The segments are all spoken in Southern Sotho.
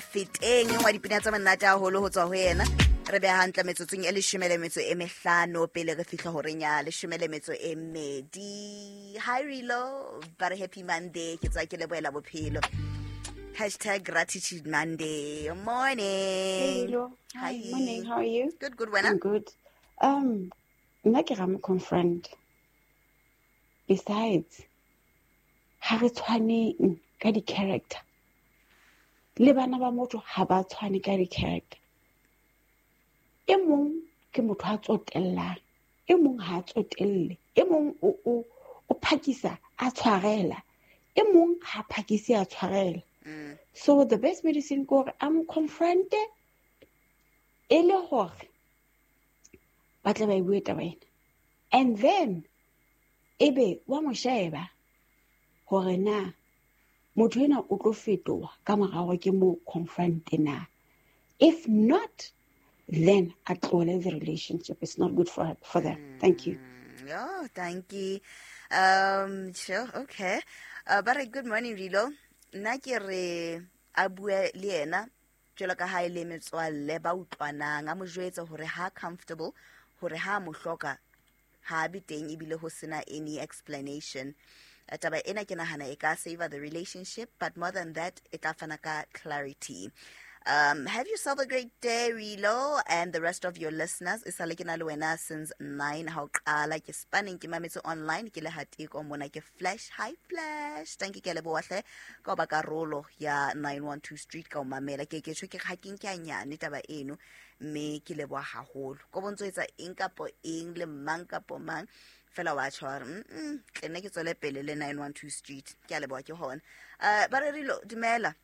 Feteng wa dipina tsa monate haholo ho tswa ho yena. Re beha hantle metsotsong e 15 pele re fihla horeng ya 12. Hi Rilo, ba re happy Monday, ke tswa ke lebohela bophelo. #GratitudeMonday. Morning. Hey, Rilo. Hi. Hi. Morning. How are you? Good, good, wena? I'm good. Nna ke ra mo confront. Besides, ha re tshwaneng ka di-character. Le bana ba motho ha ba tshwane ka di-character. E mong ke motho a tsotellang, e mong ha a tsotelle, e mong o phakisa a tshwarela, e mong ha phakisi a tshwarela. So the best medicine ke hore a mo confronte e le hore ba tle ba e bue taba ena. And then ebe wa mo sheba hore na motho ena o tlo fetoha ka mora hore ke mo confronte na. If not, then a tlohele the relationship. It's not good for them. Thank you. Oh, thank you. Sure, okay. Ba re good morning Rilo. Nna ke re a bue le yena jwalo ka ha e le metswalle ba utlwanang, a mo jwetse hore ha comfortable, hore ha mo hloka ha be teng ebile ho sena any explanation. Taba ena ke nahana e ka save the relationship, but more than that e tla fana ka clarity. Have yourself a great day, Rilo, and the rest of your listeners. E sale ke na le wena since 9 ha o qala ke spanning ke mametse online ke le hateko mona ke Flash. Hi Flash, thank you ke leboha hle ka ho ba karolo ya 912 Street ka ho mamela. Ke ke tjho ke ha ke nke a nyane taba eno, mme ke leboha haholo. Ko bontso etsa eng kapo eng le mang kapo mang fela wa tjho hore, tle nne ke tswele pele le 912 Street. Ke a leboha ke hona. Ba re Rilo, dumela.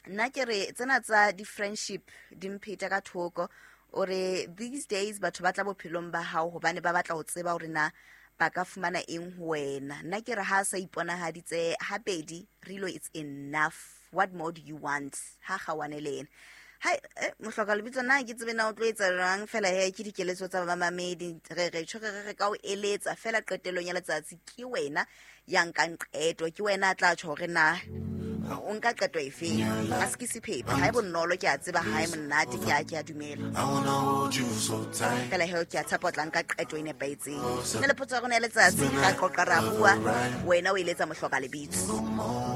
Nna ke re tsena tsa di-friendship di mpheta ka thoko. O re these days batho ba tla bophelong ba hao hobane ba batla ho tseba hore na ba ka fumana eng ho wena. Nna ke re ha sa iponahaditse habedi, Rilo, it's enough. What more do you want? Ha kgawane le ena. Hai, mohloka lebitso na ke tsebe na o tlo etsa jwang fela he ke dikeletso tsa bamamedi. Re re tjho re re ka o eletsa fela qetellong ya letsatsi ke wena ya nkang qeto, ke wena a tla tjho hore na o nka qeto efe. A se ke sephephe, ha e bonolo, ke a tseba ha e monate, ke a dumela. I wanna hold you so tight. Fela he ke a tshepa o tla nka qeto e nepahetseng. Nne le potso ya rona ya letsatsi, ra qoqa ra bua, wena o eletsa mohloka lebitso.